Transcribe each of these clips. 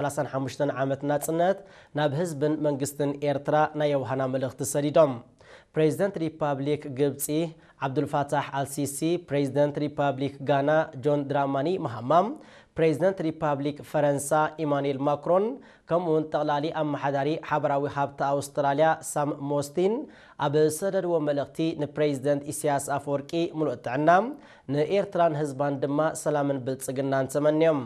ሰላሳን ሓሙሽተን ዓመት ናጽነት ናብ ህዝብን መንግስትን ኤርትራ ናይ የውሃና መልእኽቲ ሰዲዶም። ፕሬዚደንት ሪፓብሊክ ግብጺ ዓብዱልፋታሕ ኣልሲሲ፣ ፕሬዚደንት ሪፓብሊክ ጋና ጆን ድራማኒ ማሃማ፣ ፕሬዚደንት ሪፓብሊክ ፈረንሳ ኢማኑኤል ማክሮን፣ ከምኡውን ጠቕላሊ ኣመሓዳሪ ሓበራዊ ሃብቲ ኣውስትራልያ ሳም ሞስቲን ኣብ ዝሰደድዎ መልእኽቲ፣ ንፕሬዚደንት ኢሳያስ ኣፈወርቂ ምሉእ ጥዕና፣ ንኤርትራን ህዝባን ድማ ሰላምን ብልጽግናን ተመንዮም።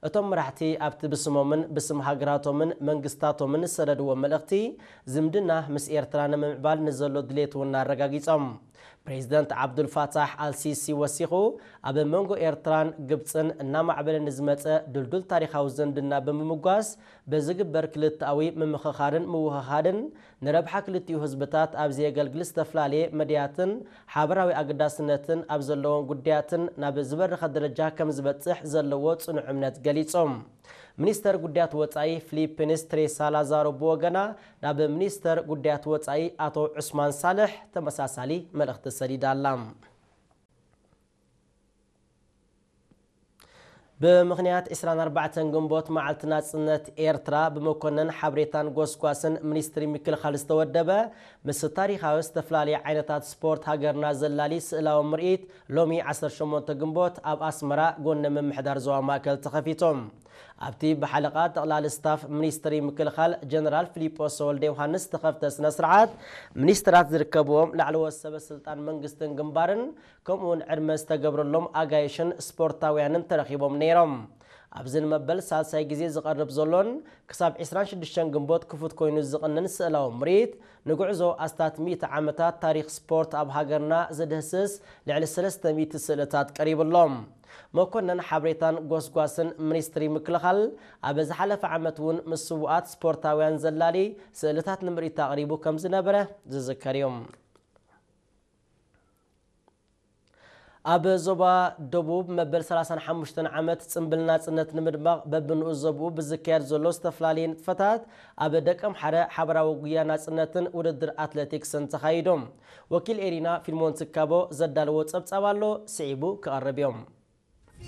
እቶም መራሕቲ ኣብቲ ብስሞምን ብስም ሃገራቶምን መንግስታቶምን ዝሰደድዎ መልእኽቲ፣ ዝምድና ምስ ኤርትራ ንምምዕባል ንዘሎ ድሌት እውን ኣረጋጊጾም። ፕሬዚደንት ዓብዱልፋታሕ ኣልሲሲ ወሲኹ፣ ኣብ መንጎ ኤርትራን ግብጽን እናማዕበለ ንዝመጸ ድልዱል ታሪኻዊ ዝምድና ብምምጓስ፣ በዝግበር ክልተኣዊ ምምኽኻርን ምውህሃድን ንረብሓ ክልቲኡ ህዝብታት ኣብ ዘየገልግል ዝተፈላለየ መድያትን ሓበራዊ ኣገዳስነትን ኣብ ዘለዎም ጉዳያትን ናብ ዝበረኸ ደረጃ ከም ዝበጽሕ ዘለዎ ጽኑዕ እምነት ገሊጾም። ሚኒስተር ጉዳያት ወጻኢ ፊሊፒንስ ትሬሳ ላዛሮ ብወገና ናብ ሚኒስተር ጉዳያት ወጻኢ ኣቶ ዑስማን ሳልሕ ተመሳሳሊ መልእኽቲ ሰዲዳ ኣላ። ብምኽንያት ዕስራን ኣርባዕተን ግንቦት መዓልቲ ናጽነት ኤርትራ፣ ብመኮነን ሓበሬታን ጎስጓስን ሚኒስትሪ ምክልኻል ዝተወደበ ምስ ታሪኻዊ ዝተፈላለየ ዓይነታት ስፖርት ሃገርና ዘላሊ ስእላዊ ምርኢት ሎሚ ዓሰርተ ሸሞንተ ግንቦት ኣብ ኣስመራ ጎኒ ምምሕዳር ዞባ ማእከል ተኸፊቱ። ኣብቲ ብሓለቓ ጠቕላሊ ስታፍ ሚኒስትሪ ምክልኻል ጀነራል ፊሊጶስ ወልደ ዮሃንስ ዝተኸፍተ ስነ ስርዓት፣ ሚኒስትራት ዝርከብዎም ላዕለዎት ሰበ ስልጣን መንግስትን ግንባርን፣ ከምኡውን ዕድመ ዝተገብረሎም ኣጋይሽን ስፖርታውያንን ተረኺቦም ነይሮም። ኣብዚ ንመበል ሳልሳይ ግዜ ዝቐርብ ዘሎን ክሳብ ዕስራን ሽዱሽተን ግንቦት ክፉት ኮይኑ ዝቕንን ስእላዊ ምርኢት፣ ንጉዕዞ ኣስታት ሚእቲ ዓመታት ታሪኽ ስፖርት ኣብ ሃገርና ዝድህስስ ልዕሊ ሰለስተ ሚእቲ ስእልታት ቀሪቡ ኣሎ። መኮነን ሓበሬታን ጎስጓስን ሚኒስትሪ ምክልኻል፣ ኣብ ዝሓለፈ ዓመት እውን ምስ ስዉኣት ስፖርታውያን ዘላሊ ስእልታት ንምርኢት ኣቕሪቡ ከም ዝነበረ ዝዝከር እዩ። ኣብ ዞባ ደቡብ መበል ሰላሳን ሓሙሽተን ዓመት ጽምብል ናጽነት ንምድማቕ በብንኡስ ዞባኡ ብዝካየድ ዘሎ ዝተፈላለየ ንጥፈታት፣ ኣብ ደቀምሓረ ሓበራዊ ጉያ ናጽነትን ውድድር ኣትሌቲክስን ተኻይዶም። ወኪል ኤሪና ፊልሞን ትካቦ ዘዳለዎ ጸብጻብ ኣሎ፣ ስዒቡ ክቐርብ እዮም።